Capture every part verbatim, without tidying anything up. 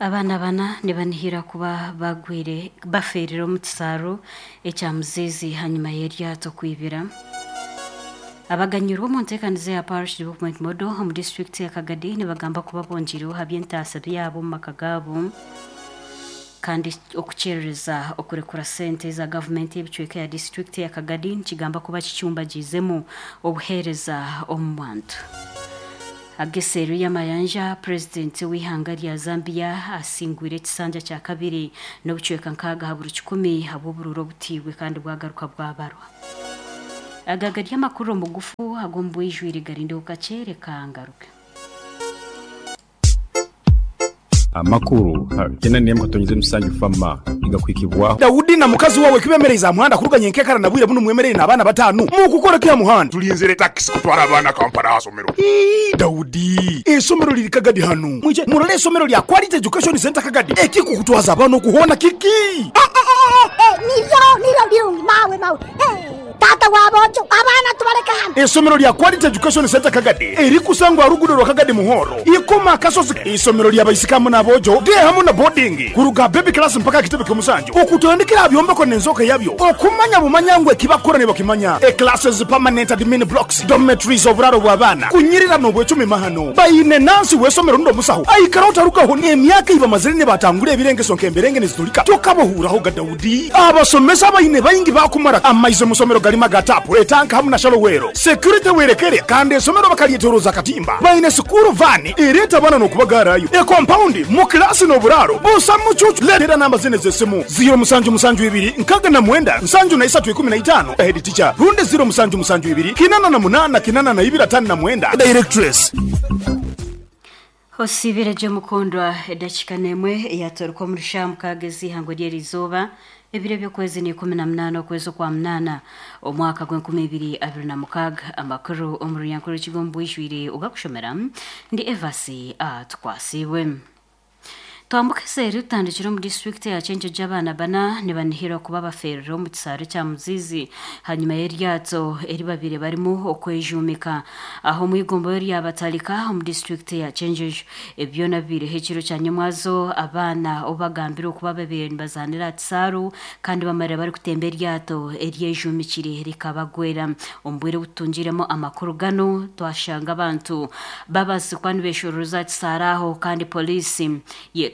Abaana bana nibanihira kuba bagwire baferire omu kisaaru ekya Muzizi hanyuma y'eryato kwibira. Abaganyirwe omu nteekaniza ya Parish Development Model omu disitulikiti ya Kagadi nibagamba kuba bongireho aha by'entaasa byabo omu maka gaabo kandi okukyerereza okurekura sente za gavumenti y'ebicweka ya disitulikiti ya Kagadi nikigamba kuba kicyumbagiizemu obuheereza omu bantu. Ageseru y'amayanja, purezidenti w'ihanga rya Zambia asingwire ekisanja kya kabiri n'obucweka nkaaga aha buri kikumi habw'obururu obutiibwe kandi bwagaruka bwabarwa. Aga gari amakuru omugufu ag'omu bwijwire, garindeho kakye, reka ngaruke. Amakuru kyenda n'emwe katonyeze musanju fama igakwikibwaho. Daudi na mukazi wawe kibemereza muhanda kuruganya enkekara na bwire buno mwemerere n'abaana batano mukukora kya muhanda. Tulinzire taxi kutwara abaana Kampala hasomero. Ii, Daudi, esomero liri Kagadi hano, mwije murole esomero lya Quality Education Center Kagadi ekikukutwaza abaana okuhona kiki. Niryo niryo birungi mawe mawe. Eh, tata wabojo abaana tubaleka hano. Esomero lya Quality Education Center Kagadi erikusangwa rugudo rwa Kagadi Muhoro ikoma akasozi. Isomero lya baisikamu n'abojo de hamu na boarding kuruga baby class mpaka kitebe ky'omusanju okutandikira byombeko n'enzoka yabyo okumanya bumanya ngwe kibakora ne bakimanya. E classes, permanent admin blocks, dormitories, oburaro bw'abaana kunyirira n'obwecumi mahano bayine nansi w'esomero ndo musaho aikara otarugaho n'emyaka iba mazire ne batangura ebirengeso nk'emberenge nezitulika tokabohuraho ga Daudi. Abasomesa bayine bayingi bakumara amaize musomero galima gatapu etanka hamu na shalowero security werekere kandi esomero bakalyetoroza katimba bayine sukuru vani ereta abana n'okubagarayo e compound mu klasi n'oburaro busa mucucu. Letera namba zine z'esimu ziro musanju musanju ibiri nkaga na mwenda nsanju na isatu ikumi na itano head teacher runde ziro musanju musanju ibiri kinana na munana kinana na ibiri atano na mwenda directress. Hosibire mukundwa, edakika nemwe yatorwa mu rushamu kagezi ihango ry'erizoba, ebiro by'okwezi ni ikumi na munana okwezi kwa munana omwaka gw'enkumi ibiri abiri na mukaaga. Amakuru omu runyankore rw'ekigombe bwijwire ogakushomera ndi Evasi Atwasibwe. Twambuka eseeri tutandikire omu disitulikiti ya Kyenjojo, abaana bana nibanihirwa kuba baferire omu kisaaru kya Muzizi hanyuma y'eryato eri babiri barimu okwejumika aho omu igombo ryabatalika omu disitulikiti ya Kyenjojo. Ebyo bibiireho ekiro kya nyomwazo, abaana obu bagambire okuba babiri nibazaanira aha kisaaru kandi bamarire barikutemba eryato eryejumikire rikabagwera. Omu bwire obututungiremu amakuru gano twashanga abantu babazi kuba nibeshororoza aha kisaaru aho kandi poliisi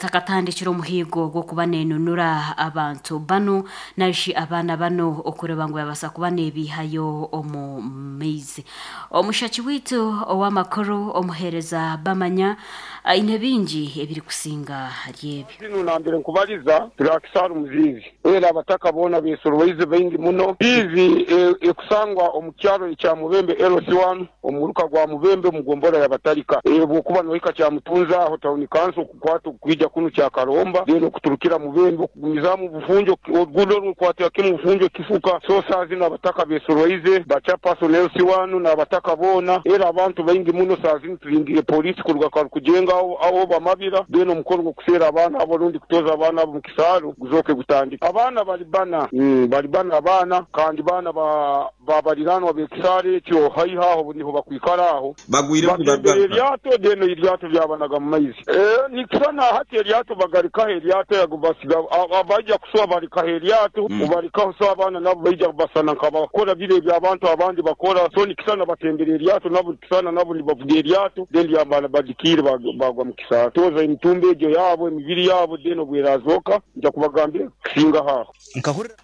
takatandikira omuhigo gw'okuba nenunura abantu bano narishi abaana bano okureba ngu babasa kuba nebihayo omu maizi. Omushaki waitu ow'amakuru omuheereza bamanya aine bingi ebirikusinga ahari ebyo. Zino nambere nkubaliza turi Muzizi era abataka boona besorweize baingi muno. Izi ekusangwa omu kyaro ekya Mubembe L C one omuruka gwa Mubembe mugombora yabatalika bwokuba nohika kya Mutunza aho town council kukwata kwija kuno kya Karomba rero kuturukira Mubembe okugumizamu bufunjo orugudo rukwatira kimu bufunjo kifuka. So saa zino abataka besorweize bacha person L C one n'abataka boona era abantu baingi muno. Saa zino tulingire polisi kuruga kujenga aho aho bamabira deno omukoro gw'okuseera abaana abo rundi kutoza abaana abo mu kisaaru guzoke gutandika. Abaana bali bana mm, bali bana abaana kandi bana ba babaliranwa b'ekisaaru ekyo haiha aho niho bakwikara aho bagwire batembera eryato deno eryato lyabanaga mu maizi. Eh, nikisana hati eryato bagarikaho eryato yagubasiga abaija kusoba barikaho eryato Mm. ubarikaho so abaana nabo baija kubasana nkabakora bire eby'abantu abandi bakora. So nikisana batembera eryato nabo nikisana nabo nibavuga eryato then lyabana badikire bag- bagwa mu kisaaru toza emitumba egyo yabo emibiri yabo deno bwerazoka nja kubagambira kusinga haho. Nkahurira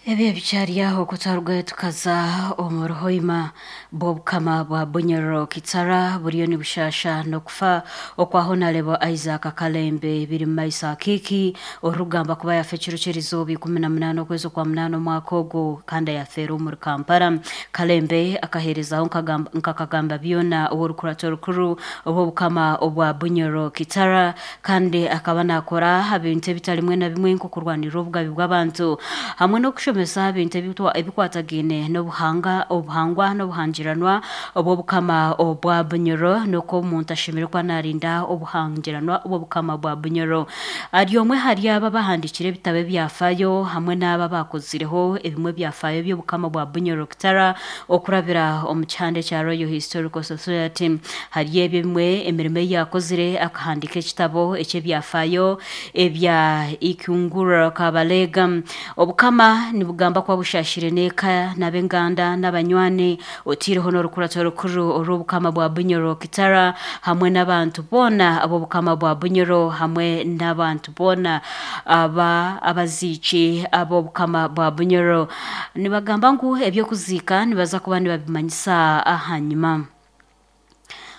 Ebyo bikyari aho kutarugayo tukaza omu ruhoima bw'obukama bwa Bunyoro Kitara buriyo nibushasha n'okufa okwa Honarebo Isaac Kalembe biri mu maiso akiiki orugamba kuba yafa ekiro ky'erizooba ikumi na munaana okwezi okwa munaana omwaka ogwo kandi yafeera omuri Kampala. Kalembe akaheerezaho nkagamba- nkakagamba byona ow'orukurato rukuru obw'obukama obwa Bunyoro Kitara kandi akaba naakora aha bintu ebitari bimwe na bimwe nk'okurwanirira obugabi bw'abantu hamwe n'okushomesa. Arikushomesa ebintu ebikwatagaine n'obuhanga obuhangwa n'obuhangiranwa obw'obukama obwa Bunyoro n'oku omuntu ashemereire kuba narinda obuhangiranwa obw'obukama bwa Bunyoro. Ari omwe hari aba bahandikire ebitabo ebyafaayo hamwe n'aba bakozireho ebimwe byafaayo by'obukama bwa Bunyoro Kitara okurabira omu kihande kya Royal Historical Society. Hari ebyo bimwe emirimo ei yakozire akahandika ekitabo eky'ebyafaayo ebya Ikungura Kabalega. Obukama nibugamba kuba bushashire n'eka n'ab'enganda n'abanywani otiireho n'orukurato rukuru orw'obukama bwa Bunyoro Kitara hamwe n'abantu boona ab'obukama bwa Bunyoro hamwe n'abantu boona aba abaziiki ab'obukama bwa Bunyoro. Nibagamba ngu ebyokuziika nibaza kuba nibabimanyisa ahanyuma.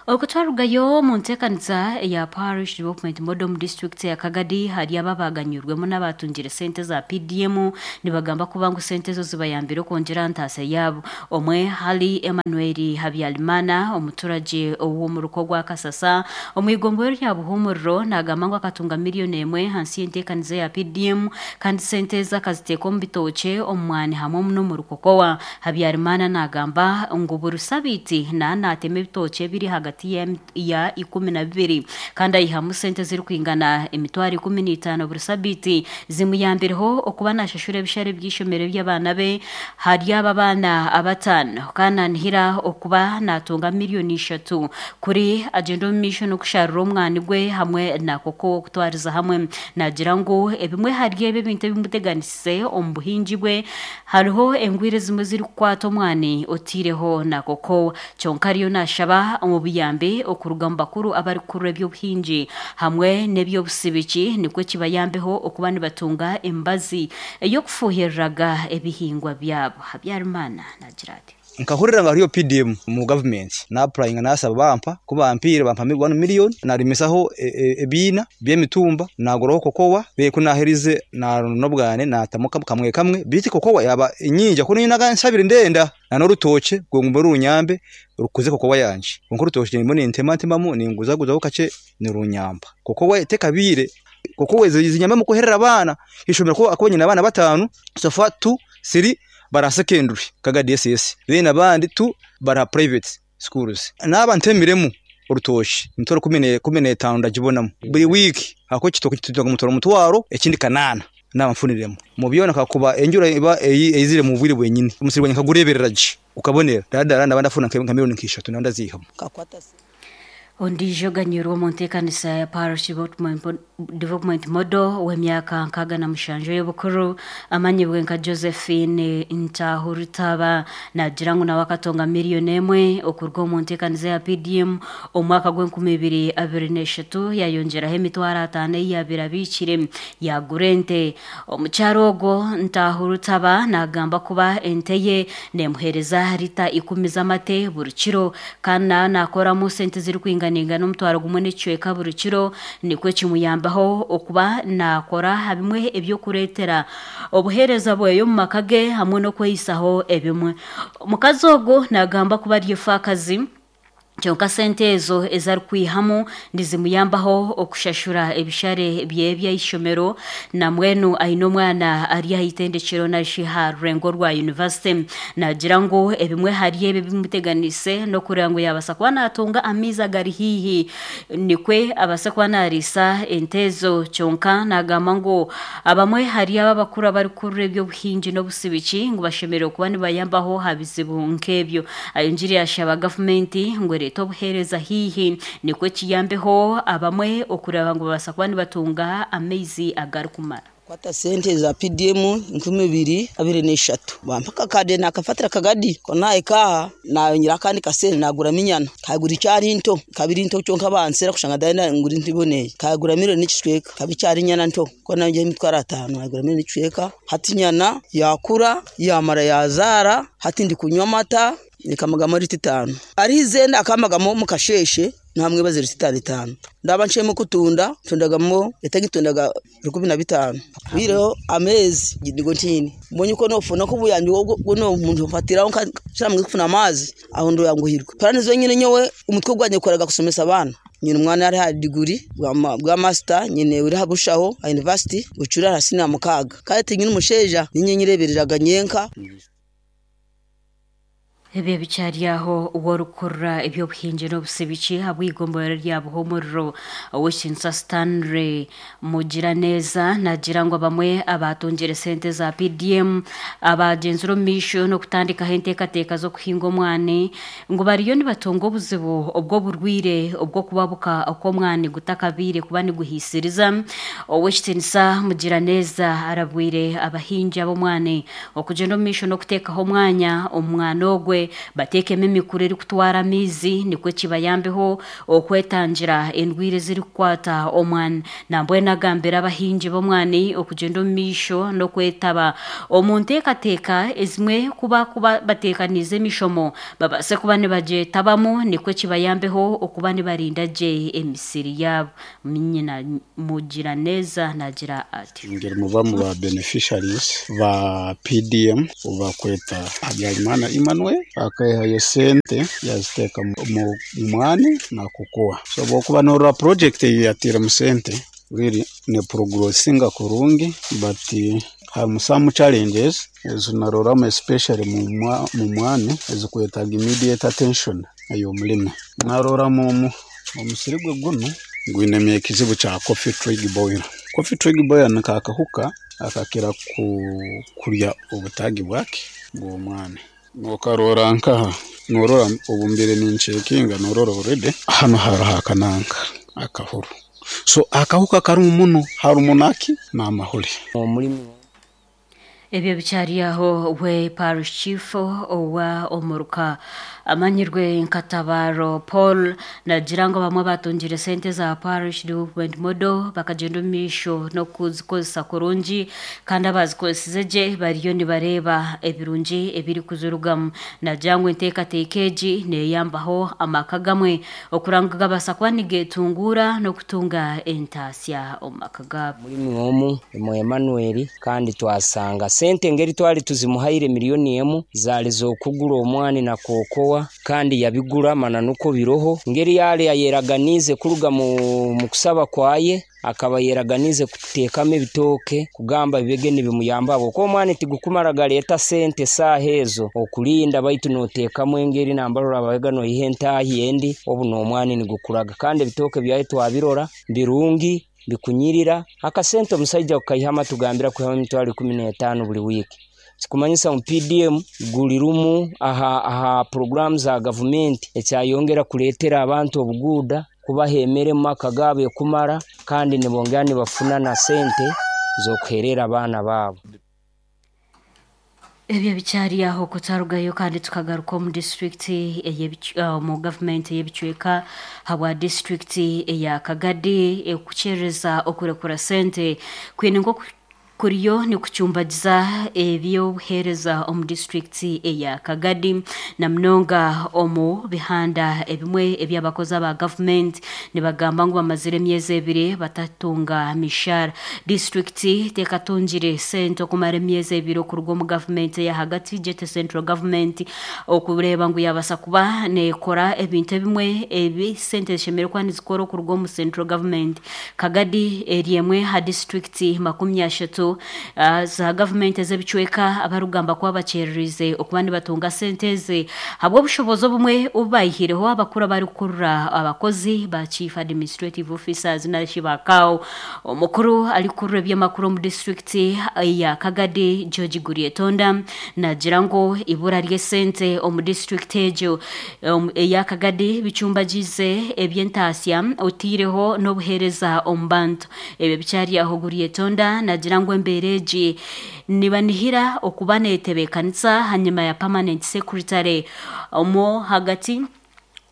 Okutwarugayo mu nteekanisa eya Parish Development Model mu district ya Kagadi hari ababaganyurwemu n'abatungire sente za P D M nibagamba kuba ngu sente ezo zibayambire okwongyera ntaasa yaabo. Omwe hari Emmanuel Habyarimana omuturage ow'omuruko gwa Kasasa omu igomboro rya Buhumuriro nagamba ngu akatunga miliyoni emwe hansi y'enteekaniza ya P D M kandi sente ezo akaziteeka omu bitookye omu mwani hamwe n'omurukokowa. Habyarimana nagamba ngu buri sabiiti naanaatema ebitookye biri hagati ya ikumi na bibiri kandi ayihamu sente zirikwingana emitwaro ikumi n'itaano buri sabiiti zimuyambireho okuba nashashura ebishare by'ishomero by'abaana be. Hari aba baana abataano kandi nanihira okuba natunga miliyoni ishatu kuri agenda omu maisho n'okusharura omwani gwe hamwe na koko okutwariza hamwe. Nagira ngu ebimwe hari ebyo ebintu ebimuteganisize omu buhingi bwe hariho engwire zimwe zirikukwata omwani otiireho na koko kyonka ariyo nashaba omu buyambi okuruga mu bakuru abarikukurura eby'obuhingi hamwe n'eby'obusibiki nikwo kibayambeho okuba nibatunga embazi ey'okufuuhiriraga ebihingwa byabo. Habyarimana nagira ati nkahurira nga hariyo P D M mu government na applying nasaba bampa kubampire bampa one million narimisaho ebiina by'emitumba naguraho kokowa bekunaherize na nobwane natamuka kamwe kamwe biti kokowa yaba inyinja kuno naga nsabire ndenda na norutoke gongombe runyambe rukuze kokowa yanje konko rutoke nimbo ntema ntemamu ninguzaguzaho kace ni runyamba kokowa itekabire kokowa zinyambe mu kuherera abana ishomero ko akabonye abana batanu sofa two three bara secondary kaga D S S then abandi tu bara private schools naba ntemiremu urutoshi mitoro kumi n'etano ndagibonamo buri week ako kitoko kituga mutoro mutwaro ekindi kanana naba mfuniremo mu byona kakuba enjura iba eyizire mu bwire bwenyine umusirwanya kagurebereraje ukabonera dadara nabanda funa nka miliyoni nkishatu nanda zihamo Ondijo ganyurwa mu nteekanisa ya Parish Development Model w'emyaka nkaaga na mushanju y'obukuru amanyibwe nka Josephine Ntahurutaba nagira ngu nawe akatonga miliyoni emwe okuruga omu nteekanisa ya P D M omwaka gw'enkumi ibiri abiri n'eshatu yayongyeraho emitwaro ataano ei yaabire abiikire yagura ente. Omukyaro ogwo Ntahurutaba nagamba kuba ente ye nemuheereza rita ikumi z'amate buri kiro kandi nawe nakoramu sente zirikwingana ningana omutwaro gumwe n'ekicweka buri kiro nikwo kimuyambaho okuba nakora bimwe ebyokureetera obuheereza bweyo omu maka ge hamwe n'okweyisaho ebimwe. Omukazi ogwo nagamba kuba ari efaakazi kyonka sente ezo ezarikwihamu nizimuyambaho okushashura ebishare bye by'eishomero namwenu aine omwana ari aha itendekero narishi aha rurengo rwa university. Nagira ngu ebimwe hari ebyo bimuteganise n'okureba ngu yaabasa kuba natunga amaizi agari haihi nikwe abase kuba nariisa ente ezo. Kyonka nagamba ngu abamwe hari aba abakuru abarikukurura eby'obuhingi n'obusibiki ngu bashemereire kuba nibayambaho aha bizibu nk'ebyo. Ayongyire yashaba gavumenti ngu ereete obuheereza haihi nikwo kiyambeho abamwe okureba ngu babasa kuba nibatunga amaizi agarikumara. Kwata sente za P D M nkumi ibiri abiri n'eshatu bampa akakade nakafatira akagadi kona ekaha nayongera akandi kasente nagura minyana kagura icyari nto kabiri nto cyonka bansera kushanga dai ngura nto iboneye kagura miliyoni n'ikicweka kabi cyari nyana nto kona ngiye imitwaro atanu nagura miliyoni n'ikicweka hati nyana yakura yamara yazara hati ndi kunywa amata nikamagamo rita itanu ari izenda akamagamo mu kasheshe Namwe bazira itanu itanu ndaba nshemo kutunda tundagamo etagitundaga rukumi na bitanu bireho amezi gidigo ntini mbonye uko nofuna ko buyambi guno umuntu mfatiraho nshamwe kufuna amazi aho ndo yanguhirwa paranizo nyine nyowe umutwe gwanye koraga kusomesa abana nyine umwana ari ha degree bwa master nyine uri habushaho a university bucura hasina mukaga kandi nyine umusheja ninye nyirebereraga nyenka. Ebyo bicyari aho uworukurura ebyobuhingi n'obusibiki habw'igombora rya Buhumuriro ow'Ekinsa Stanley Mugiraneza nagira ngo bamwe abatungire sente za P D M abagenzura omu maisho n'okutandikaho enteekateeka z'okuhinga omwani ngu bariyo nibatunga obuzibu obw'oburwire obw'okubabuka okw'omwani gutakabiire kuba niguhiisiriza. Ow'Ekitinisa Mugiraneza arabwire abahingi ab'omwani okugyenda omu maisho n'okuteekaho omwanya omwana ogwe batekemo emikura erikutwara amaizi nikwo kibayambeho okwetangira endwire ezirikukwata omwani. Nambwenu agambira abahingi b'omwani okugyenda omu maisho n'okwetaba omu nteekateeka ezimwe kuba kuba bateekaniize emishomo babaase kuba nibagyetabamu nikwo kibayambeho okuba nibarinda gye emisiri yaabo. Nyina Mugiraneza nagira ati ngeri muba mu ba beneficiaries ba P D M obakweta Habyarimana Emmanuel akayihayo sente yaziteeka mu mwani na kukuwa. So bwokuba norora project yatira mu sente really ne progressinga kurungi, but harimu some challenges ezinaroramo especially mu mwani ezikwetaga immediate attention ey'omulimi. Narora mu omusiri gwe guno gwine ekizibu kya coffee twig boil. Coffee twig boil nikakahuka akakira ku kurya obutagi bwake bw'omwani. Nokarora nkaha norora obumbire ninchekinga norora already hano hariho akananka akahuru. So akahuka karimu muno harumu naki n'amahuri. Omulimi Ebyo bicyari aho we parish chief owa omuruka amanyirwe nkatabaro Paul nagira ngo bamwe batungire sente za parish development model bakagenda omu maisho no kuzikozesa kurungi kandi abazikozesize gye bariyo nibareba ebirungi ebiri kuzirugamu. Nagira ngu enteekateeka egi neeyambaho amaka gamwe okuranga gabasa kuba nigeetungura n'okutunga entaasya omu maka gaabo. Mulimi omu mu Emmanuel kandi twasanga sente ngeri twali tuzimuhaire miliyoni emu zali zokugura omwani na kokowa kandi yabigura mana nuko biroho ngeri yale yayeraganize kuruga mu kusaba kwaye akaba yeraganize kutekamo ebitoke kugamba bibege nibimuyamba abo ko omwani tigukumara galeta sente sahezo okulinda baitu notekamo engeri nambarora abaga no ihentahi endi obu no omwani nigukuraga kandi ebitoke byaye twabirora birungi bikunyirira akasente omusajja okayihama tugambira kuhama emitwaro ikumi n'etaano buli wiki. Sikumanyisa mu P D M gulirumu aha aha program za government ekyayongera kuletera abantu obuguda kubaha emere mu maka gaabo kumara kandi nibongera nibafuna na sente zokuherera abaana baabo. Ebyo bicyari aho kutarugayo kandi tukagaruka mu district mu government y'ebicweka habwa district eya Kagadi ekukyereza okurekura sente kwine nko kuriyo ni kucyumbagiza ebyobuhereza omu district eya Kagadi na mnonga omu bihanda ebimwe ebyabakozi aba government nibagamba ngu bamazire emyezi ebiri batatunga mishara. District tekatungire sente okumara emyezi ebiri okuruga omu government ya hagati jete central government okureba ngu yabasa kuba nekora ebintu ebimwe ebi sente zishemereire kuba nizikora okuruga omu central government. Kagadi eri emwe ha district makumi ashatu Uh, za government ez'ebicweka abarugamba kuba bakyererize okuba nibatunga sente eze habw'obushobozi obumwe obubayihireho abakuru abarikukurura abakozi ba chief administrative officers narishi bakao. Omukuru arikurura ebyamakuru omu district ya Kagadi George Gurietonda nagira ngu ibura ry'esente omu district egyo um, eya Kagadi bicumbagize eby'entaasya otiireho n'obuheereza omu bantu. Ebyo bicyari aho Gurietonda nagira ngu embereji nibanihira okuba netebekanisa hanyuma ya permanent secretary omo hagati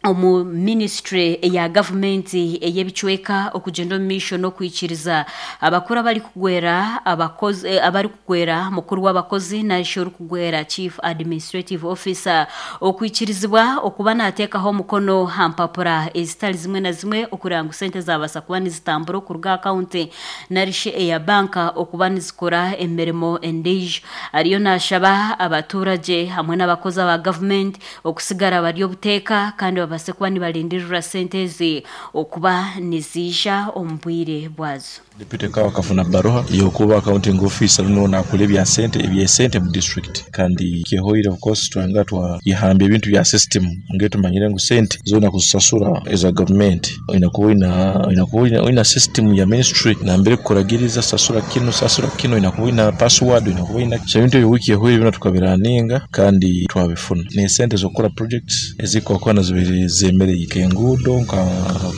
Omu ministry eya gavumenti ey'ebicweka okugenda omu maisho n'okwikiriza abakuru abari kugwera abakozi eh, abari kugwera mukuru w'abakozi narishi orikugwera chief administrative officer okwikirizibwa okuba nateekaho omukono ha mpapura ezitari zimwe na zimwe okureba ngu sente zabaasa kuba nizitambura okuruga akawunti narishi eya banka okuba nizikora emirimo endiijo. Ariyo nashaba abaturage hamwe n'abakozi aba gavumenti okusigara bari obuteeka kandi babase kuba nibalindirira sente ezi okuba niziija omu bwire bwazo. Deputy Kawa kafuna baruha yokuba accounting officer luno nakula ebya sente ebya sente mu district, kandi kyehoire. Of course twanga twayihamba ebintu bya system ngetumanyire ngu sente zona kuzisasura eza government inakuba ina inakuba ina, ina system ya ministry nambere kukuragiriza sasura kino, sasura kino, inakuba ina password, inakuba ina. So ebintu ebyo wiki ehoire bino tukabiraninga kandi twabifuna ne sente zokukora projects ezikokona zibiri zemereye, enguudo, nka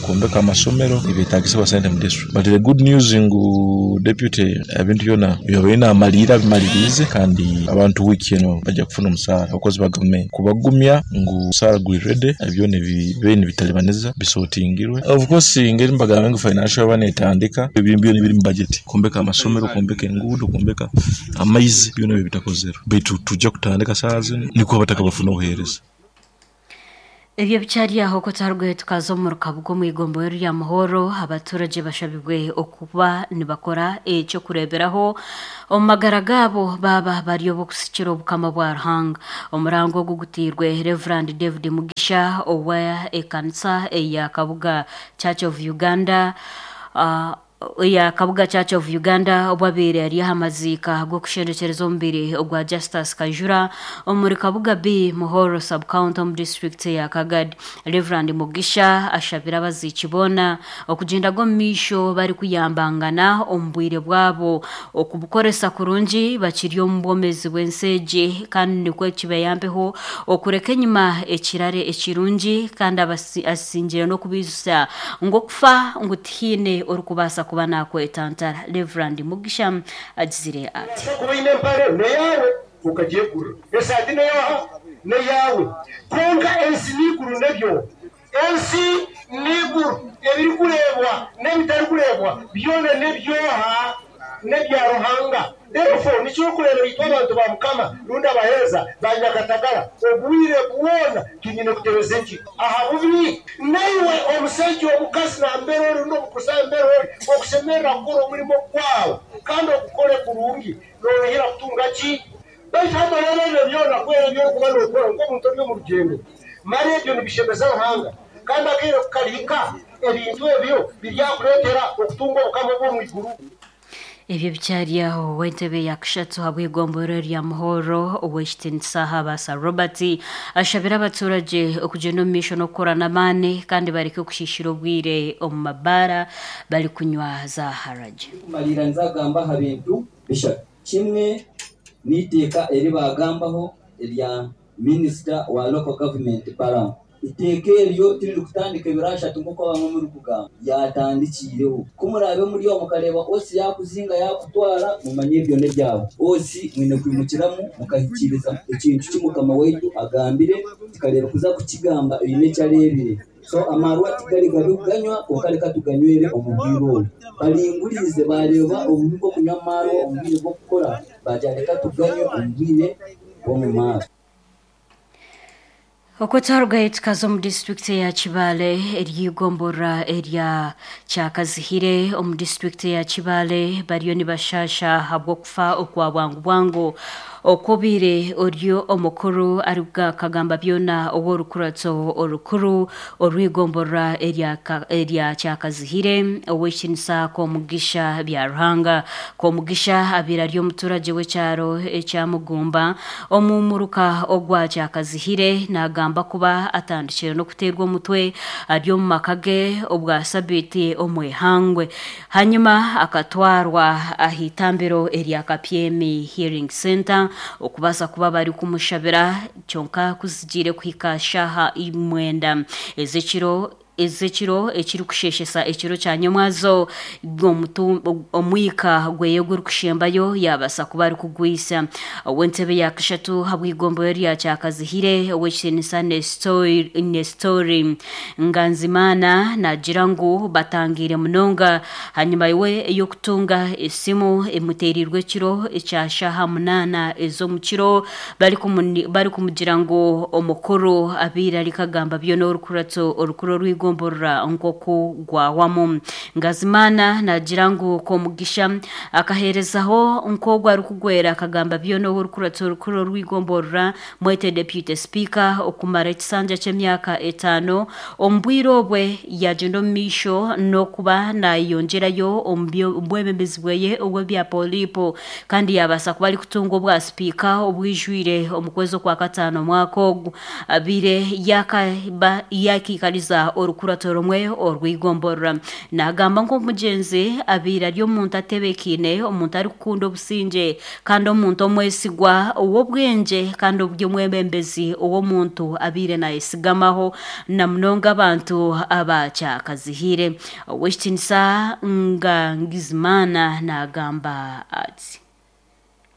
kwombeka amasomero, ebetagisibwa sente mu district. But the good news ngu deputy ebintu byona byobaine amalira bimalirize, kandi abantu wiki eno bajja kufuna omusaara. Abakozi ba gavumenti kubagumya ngu omusaara guri ready, byona ebibe bitalibaniza bisotingirwe. Of course ngeri mbagamba ngu financial bana etandika, ebintu byona biri mu budget, kwombeka amasomero, kwombeka enguudo, kwombeka amaizi, byona ebyo bitakozerwe, baitu tujja kutandika saa zino niko abataka bafuna obuheereza. Ebyo bikyari aho ko twarugwe tukaza omu rukabuga omu igombo rya Muhoro. Abaturage bashabibwe okuba nibakora ekyokureberaho omu magara gaabo baba bari obukusikira obukama bwa Ruhanga. Omurango ogu gutiirwe Reverend David Mugisha owa ekanisa eya Kabuga Church of Uganda, uh, ya Kabuga Church of Uganda, obwabeire ari aha maziika g'okushendekyereza omubiri ogwa Justus Kajura omuri Kabuga B Muhoro sub-county omu district ya Kagadi. Reverend Mugisha ashabira abaziiki boona okugyenda g'omu maisho bari kuyambangana omu bwire bwabo okubukoresa kurungi bakiri omu bwomezi bw'ensi egi, kandi nikwo kibayambeho okureka enyima ekirare ekirungi, kandi abasi- asingire n'okubiijusa ngu okufa ngu tihaine orikubaasa kuba nakwetantara. Reverend Mugisha agizire ati: Kuba ine empare neyawe ukagyegurira, esaati neyaha neyawe, konka ensi n'iguru nebyo, ensi n'iguru ebirikureebwa n'ebitarikureebwa byona nebyoha? Nebya Ruhanga. Therefore nikyo okureeba itwe abantu ba Mukama rundi abaheereza ba Nyakatagara obwire bwona tunyine kutebeza enjiri aha bubi. Naiwe omusajja, omukazi, nambere ori n'omukusa mbere ori okusemerera kukora omurimo gwawe kandi ogukore kurungi, noruhira kutunga ki? Baitu hano rero ebyo byona kwera ebyokuba nokora nk'omuntu ori omu rugendo mara ebyo nibishemeza Ruhanga, kandi akaire kukarihika ebintu ebyo biryakureetera okutunga obukama bw'omu iguru. Ebyo bikyari aho, w'entebe ya kashatu habw'igomboro rya Muhoro, ow'ekitinisa Habasa Robert, ashabira abaturage okugenda omu maisho n'okukora n'amaani kandi bareke okushishira obwire omu mabaara bari kunywa za harage. Kumalira nzagamba aha bintu bishatu. Kimwe n'iteeka eri bagambaho erya minisita wa local government Balaam. Iteeka eryo tiriri kutandika ebiro ashatu nk'oku abamwe muri kugamba, yatandikiireho. Ku muraabe muri aho mukareeba osi yakuzinga yakutwara, mumanye ebyo n'ebyabo osi mwine kwimukiramu mukahikiriza ekintu ki Mukama waitu agambire, tukareeba kuza kukigamba eine ekyareebire. So amarwa tigari gabi kuganywa, konka reka tuganywere omu bwire obu. Baringurize bareeba obubi bw'okunywa amarwa omu bwire bw'okukora, bagira reka tuganywe omu bwire bw'omu maaso. Okwo twarugayo tukaza omu disitulikiti ya Kibaale ery'igomborora erya Kyakazihire omu disitulikiti ya Kibaale bariyo nibashasha ahabw'okufa okwa bwangu bwangu okwobire oryo omukuru arikugamba byona ow'orukuratso orukuru orw'igomborora erya Ka- erya Kyakazihire, ow'ekitinisa Komugisha bya Ruhanga. Komugisha abiire ari omuturage w'ekyaro ekyamugumba omu muruka ogwa Kyakazihire. Nagamba kuba atandikire n'okuteerwa omutwe ari omu maka ge obwa sabiiti omwehangwe, hanyuma akatwarwa aha itambiro erya Kapyemi Healing Center okubaasa kuba bari kumushabira, kyonka kuzigiire kuhika shaha imwenda ez'ekiro. Ezekiro ekiri kusheshesa ekiro kya nyomwazo omwika gweye guri kushembayo yabasa kuba ari kugwisa. Ow'entebe ya kashatu habwigombo rya Kyakazihire, ow'ekitinisa Nestori Nganzimana, nagira ngu batangiire munonga hanyuma iwe ey'okutunga esimu emuteerirwe ekiro ekya shaha munaana ez'omukiro bari kumugira ngu omukuru abiire arikagamba byona orukurato orukuru orwigomborora nkoku gwawamu. Ngazimana nagira ngu Komugisha akaherezaho nk'ogwo arikugwera akagamba byona orukurato orukuru orwigomborora mwete deputy speaker okumara ekisanja ky'emyaka etaano. Omu bwire obwe yagenda omu maisho n'okuba nayeyongyerayo omu bwebembezi bweye obw'ebya polipo, kandi yabaasa kuba arikutunga obwa sipiika obwijwire omu kwezi okwa kataano omwaka ogu abiire yakiikariza orukurato rumwe orwigomborora. Nagamba nk'omugyenzi abiire ari omuntu atebekiine, omuntu arikukunda obusingye, kandi omuntu omwesigwa ow'obwengye, kandi oburyomwebembezi ow'omuntu abiire nayesigamaho na munonga abantu abakyakazihire. Ow'ekitinisa Ngangizimana nagamba ati